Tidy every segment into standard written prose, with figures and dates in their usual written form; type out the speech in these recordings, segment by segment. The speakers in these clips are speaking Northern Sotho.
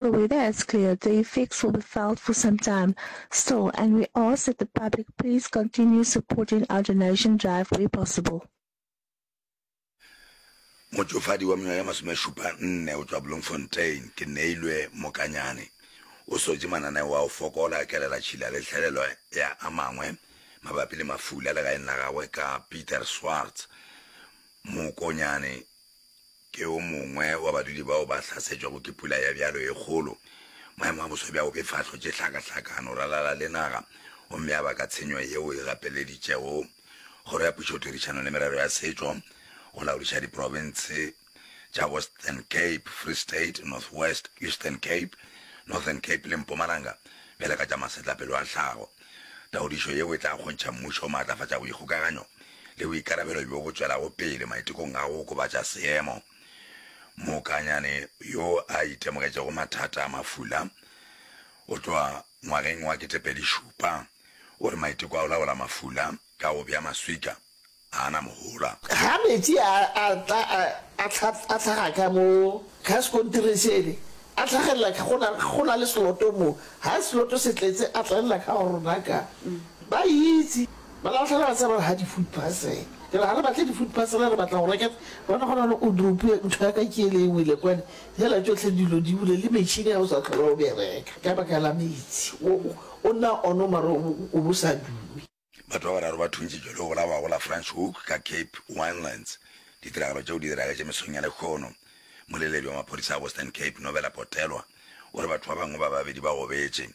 The weather has cleared, the effects will be felt for some time still and we ask that the public please continue supporting our donation drive where possible. Motšofadi wa mengwaga ye masomešupa nne o tšwa Bloemfontein, ke Neilwe Mokanyane, o sotše mananeo a go fokola a kelelatšhila le tlhelelo ya a mangwe mabapi le mafula legaeng la gagwe ka Pieter Swarts Mokonyane. Ke o mongwe wa badudi bao ba hlasetšwego ke pula ya bjalo e kgolo. Maemo a boso bja go befa a hlotše hlakahlakano ralala le naga gomme a baka tshenyo yeo e gapeleditšego Kgoro ya Pušotherišano le Merero ya Setšo go laodiša diprofense tša Western Cape, Free State, North West, Eastern Cape, Northern Cape le Mpumalanga bjale ka tša masetlapelo a tlhago. Taodišo yeo e tla kgontšha mmušo go maatlafatša boikgokaganyo le boikarabelo bjo bo tšwelago pele maitekong a go okobatša seemo. Mokanyane yo a itemogetšego mathata a mafula go tloga ngwageng wa 2007 o re maiteko a go laola mafula ka go bea maswika ga a na mohola. Ga metsi a a tla a a a hlaga ka mo ka sekontiring sele, a hlagelela ka go na go na le seloto mo, ga seloto se tletse a tlalela ka go rona ka. Ba itse, ba lahlela ba tseba ga di food parcel. Ke re ga re batle di food parcel re batla go reka, bona gona le o dropiwe ntho ya ka ke ele e wele kwane, hela tšohle dilo di wile le metšhini ga o sa hlola o bereka ka baka la metsi, o o nna ono mara o o bo sa dume. Batho ba bararo ba thuntšitšwe le go bolawa go la Franschhoek ka Cape Winelands. Ditiragalo tšeo di diragetše mesong ya lehono. Moleledi wa maphodisa a Western Cape, Novela Potelwa, o re batho ba bangwe ba babedi ba gobetše.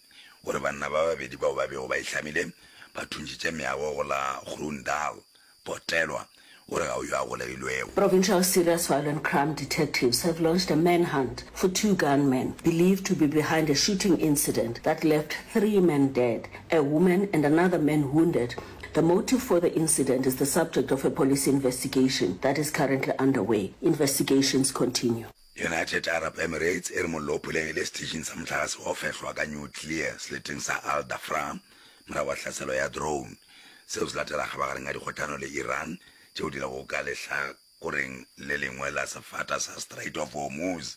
O re banna ba babedi bao ba bego ba ihlamile ba thuntšitše meago go la Groendal. Potelwa o re ga o yo a golegilwego. Provincial Serious Violent Crime detectives have launched a manhunt for two gunmen believed to be behind a shooting incident that left three men dead, a woman and another man wounded. The motive for the incident is the subject of a police investigation that is currently underway. Investigations continue. United Arab Emirates e re mollo o phulegile seteišing sa mohlagase wa go fehlwa ka nuclear seleteng sa Al Dhafra morago ga tlhaselo ya drone. Seo se latela kgabagareng ya dikgohlano le Iran tšeo di lego ka lehlakoreng le lengwe la sefata sa Strait of Hormuz.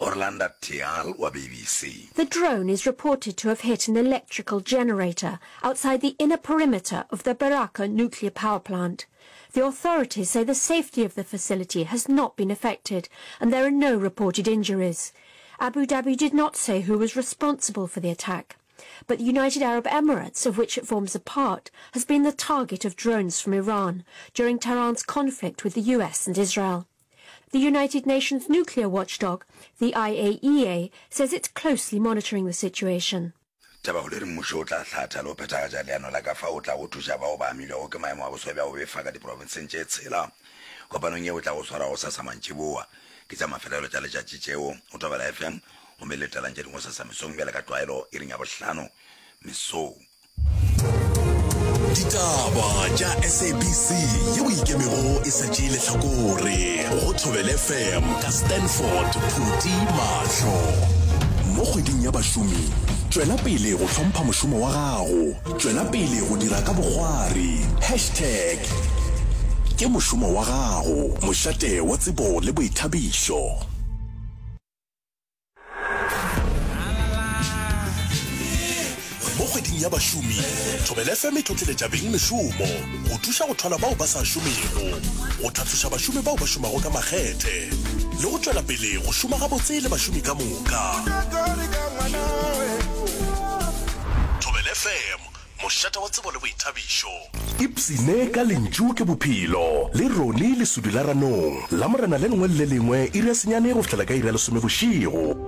Orlanda Tial wa BBC. The drone is reported to have hit an electrical generator outside the inner perimeter of the Baraka nuclear power plant. The authorities say the safety of the facility has not been affected and there are no reported injuries. Abu Dhabi did not say who was responsible for the attack. But the United Arab Emirates, of which it forms a part, has been the target of drones from Iran during Tehran's conflict with the US and Israel. The United Nations nuclear watchdog, the IAEA, says it's closely monitoring the situation. Tabakgolo e re mmušo o tla hlatha le go phethagatša leano la ka fao o tlago thuša bao ba amilwego ke maemo a boso bja go befa ka diprofenseng tše tshela. Kopanong yeo e tlago swarwa gosasa mantšiboa ke tša mafelelo tša letšatši tšeo go Thobela FM gomme letelang tše dingwe gosasa mesong bjale ka tlwaelo iring ya bohlano mesong. Ditaba tša SABC yeo ikemego e sa tšee lehlakore go Thobela FM ka Stanford Phuti Mahlo. Mo kgweding ya bašomi, tšwela pele go hlompha mošomo wa gago, tšwela pele go dira ka bokgwari. Hashtag ke mošomo wa gago, mošate wa tsebo le boithabišo. Mo kgweding ya bašomi, Thobela FM e tlotleletša beng mešomo go thuša go thwala bao ba sa šomego, go tlhatloša bašomi bao ba šomago ka makgethe le go tšwela pele go šoma gabotse le bašomi ka moka. Thobela FM, mošate wa tsebo le boithabišo. Ipshine ka Lentšu ke Bophelo le Ronnie Lesudi la Ranong, Lamorena le lengwe le le lengwe iri ya senyane go fihlela ka iri ya lesome bošego.